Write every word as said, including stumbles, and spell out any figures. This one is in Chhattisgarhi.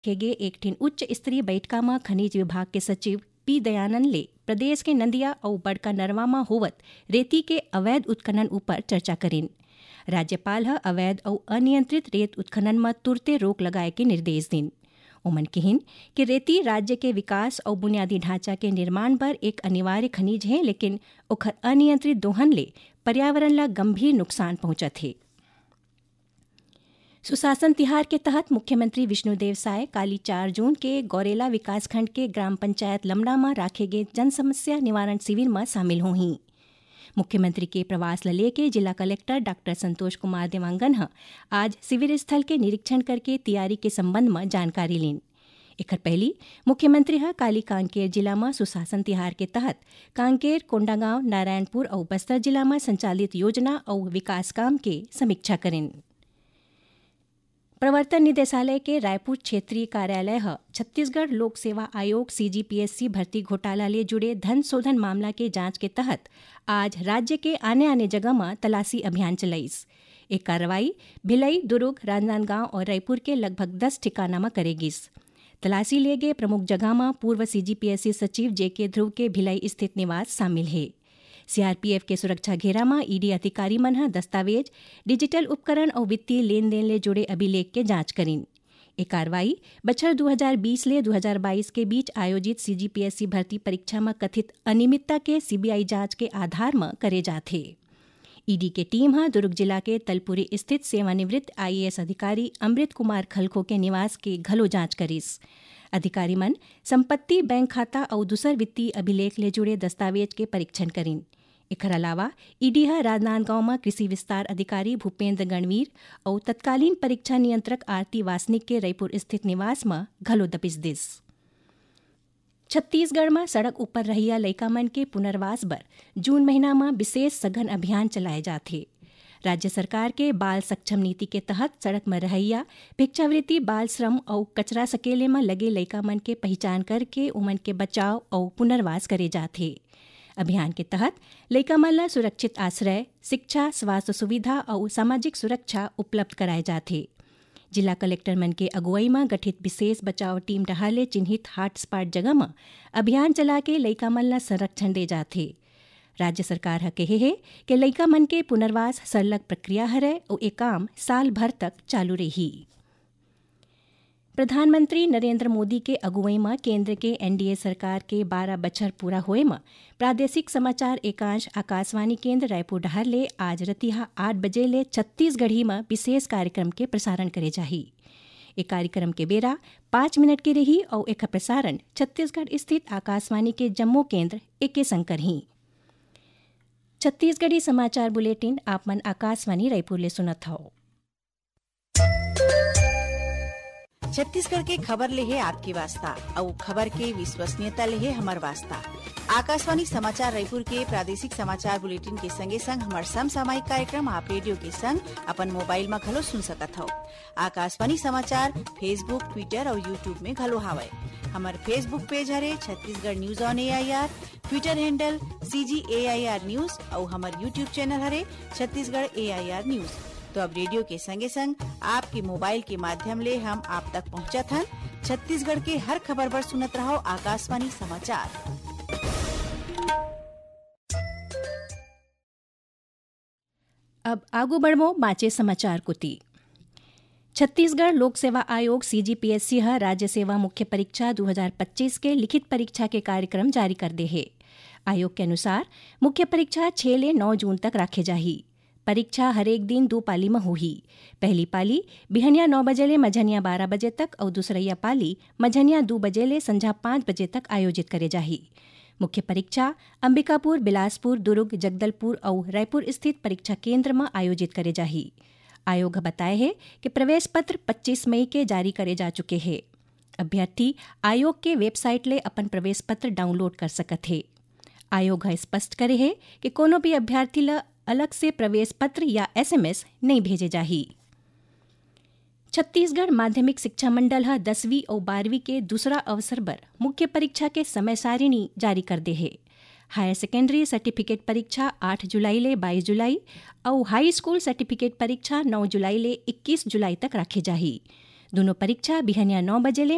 रखे गे एक ठिन उच्च स्तरीय बैठका म खनिज विभाग के सचिव पी दयानंद ले प्रदेश के नंदिया अउ बड़का नरवा म होवत रेती के अवैध उत्खनन ऊपर चर्चा करिन। राज्यपाल ह अवैध अउ अनियंत्रित रेत उत्खनन म तुरते रोक लगाए के निर्देश दिन। ओमन किहिन कि रेती राज्य के विकास अउ बुनियादी ढांचा के निर्माण बर एक अनिवार्य खनिज हे, लेकिन ओखर अनियंत्रित दोहन ले पर्यावरण ल गंभीर नुकसान पहुंचत हे। सुशासन तिहार के तहत मुख्यमंत्री विष्णुदेव साय काली चार जून के गौरेला विकासखंड के ग्राम पंचायत लमड़ा म राखे गे जन समस्या निवारण शिविर म शामिल होही। मुख्यमंत्री के प्रवास ल लेके जिला कलेक्टर डॉक्टर संतोष कुमार देवांगन ह आज शिविर स्थल के निरीक्षण करके तैयारी के संबंध म जानकारी लीन। एखर पहिली मुख्यमंत्री ह काली कांकेर जिला म सुशासन तिहार के तहत कांकेर, कोंडागांव, नारायणपुर अउ बस्तर जिला म संचालित योजना अउ विकास काम के समीक्षा करिन। प्रवर्तन निदेशालय के रायपुर क्षेत्रीय कार्यालय ह छत्तीसगढ़ लोक सेवा आयोग सीजीपीएससी भर्ती घोटाला ले जुड़े धन शोधन मामला के जांच के तहत आज राज्य के आने-आने जगह म तलाशी अभियान चलाइस। ए कार्रवाई भिलाई, दुर्ग, राजनांदगांव अउ रायपुर के लगभग दस ठिकाना म करे गिस। तलाशी ले गे प्रमुख जगह म पूर्व सीजीपीएससी सचिव जेके ध्रुव के भिलाई स्थित निवास शामिल हे। सीआरपीएफ के सुरक्षा घेरा म ईडी अधिकारी मन ह दस्तावेज, डिजिटल उपकरण अउ वित्तीय लेन देन ले जुड़े अभिलेख के जांच करिन। ए कार्रवाई बछर दू हजार बीस ले दू हजार बाईस के बीच आयोजित सीजीपीएससी भर्ती परीक्षा म कथित अनियमितता के सीबीआई जांच के आधार म करे जाथे। ईडी के टीम ह दुर्ग जिला के तलपुरी स्थित सेवानिवृत्त आईएएस अधिकारी अमृत कुमार खलखो के निवास के घलो जांच करिस। अधिकारी मन संपत्ति, बैंक खाता अउ दूसर वित्तीय अभिलेख ले जुड़े दस्तावेज के परीक्षण करिन। एखर अलावा ईडी ह राजनांदगांव म कृषि विस्तार अधिकारी भूपेंद्र गणवीर अउ तत्कालीन परीक्षा नियंत्रक आरती वासनिक के रईपुर स्थित निवास म घलो दबिश दिस। छत्तीसगढ़ म सड़क ऊपर रहइया लइका मन के पुनर्वास बर जून महीना म विशेष सघन अभियान चलाए जाथे। राज्य सरकार के बाल सक्षम नीति के तहत सड़क म रहइया, भिक्षावृत्ति, बाल श्रम अउ कचरा सकेले म लगे लइका मन के पहिचान करके ओमन के बचाव अउ पुनर्वास करे जाथे। अभियान के तहत लइका मन ल सुरक्षित आश्रय, शिक्षा, स्वास्थ्य सुविधा अउ सामाजिक सुरक्षा उपलब्ध कराए जाथे। जिला कलेक्टर मन के अगुवई म गठित विशेष बचाव टीम डहार ले चिन्हित हॉटस्पॉट जगह म अभियान चला के लइका मन ल संरक्षण दे जाथे। राज्य सरकार ह कहे हे कि लइका मन के पुनर्वास सरलग प्रक्रिया हरय अउ ए काम साल भर तक चालू रही। प्रधानमंत्री नरेंद्र मोदी के अगुवई म केंद्र के एनडीए सरकार के बारह बछर पूरा होए म प्रादेशिक समाचार एकांश आकाशवाणी केंद्र रायपुर डहार ले आज रतिहा आठ बजे ले छत्तीसगढ़ी म विशेष कार्यक्रम के प्रसारण करे जाही। ए कार्यक्रम के बेरा पाँच मिनट के रही अउ एखर प्रसारण छत्तीसगढ़ स्थित आकाशवाणी के जम्मो केंद्र एके संग करही। छत्तीसगढ़ी समाचार बुलेटिन आप मन आकाशवाणी रायपुर ले सुनत हव। छत्तीसगढ़ के खबर ले हे आपके वास्ता, अउ खबर के विश्वसनीयता ले हे हमर वास्ता। आकाशवाणी समाचार रायपुर के प्रादेशिक समाचार बुलेटिन के संगे संग हमर समसामयिक कार्यक्रम आप रेडियो के संग अपन मोबाइल म घलो सुन सकत हव। आकाशवाणी समाचार Facebook, Twitter अउ YouTube में घलो हावय। हमर Facebook पेज हरे Chhattisgarh news on AIR, Twitter handle CG AIR news अउ हमर YouTube चैनल हरे छत्तीसगढ़ एआईआर न्यूज। तो अब रेडियो के संगे संग आपके मोबाइल के माध्यम ले हम आप तक पहुंचत हन। छत्तीसगढ़ के हर खबर बर सुनत रहव आकाशवाणी समाचार। अब आगू बढ़बो बांचे समाचार कोति। छत्तीसगढ़ लोक सेवा आयोग सीजीपीएससी ह राज्य सेवा मुख्य परीक्षा दू हजार पच्चीस के लिखित परीक्षा के कार्यक्रम जारी कर दे हे। आयोग के अनुसार मुख्य परीक्षा छह ले नौ जून तक राखे जाही। परीक्षा हरेक दिन दू पाली म होही। पहली पाली बिहनिया नौ बजे ले मझनिया बारह बजे तक अउ दूसरइया पाली मझनिया दू बजे ले संझा पाँच बजे तक आयोजित करे जाही। मुख्य परीक्षा अंबिकापुर, बिलासपुर, दुर्ग, जगदलपुर अउ रायपुर स्थित परीक्षा केंद्र म आयोजित करे जाही। आयोग ह बताए हे कि प्रवेश पत्र पच्चीस मई के जारी करे जा चुके हे। अभ्यर्थी आयोग के वेबसाइट ले अपन प्रवेश पत्र डाउनलोड कर सकत हे। आयोग ह स्पष्ट करे हे कि कोनो भी अभ्यर्थी ल अलग से प्रवेश पत्र या एसएमएस नइ भेजे जाही। छत्तीसगढ़ माध्यमिक शिक्षा मंडल ह दसवीं अउ बारहवीं के दूसरा अवसर बर मुख्य परीक्षा के समय सारिणी जारी कर दे हे। हायर सेकेंडरी सर्टिफिकेट परीक्षा आठ जुलाई ले बाईस जुलाई अउ हाई स्कूल सर्टिफिकेट परीक्षा नौ जुलाई ले इक्कीस जुलाई तक राखे जाही। दूनों परीक्षा बिहनिया नौ बजे ले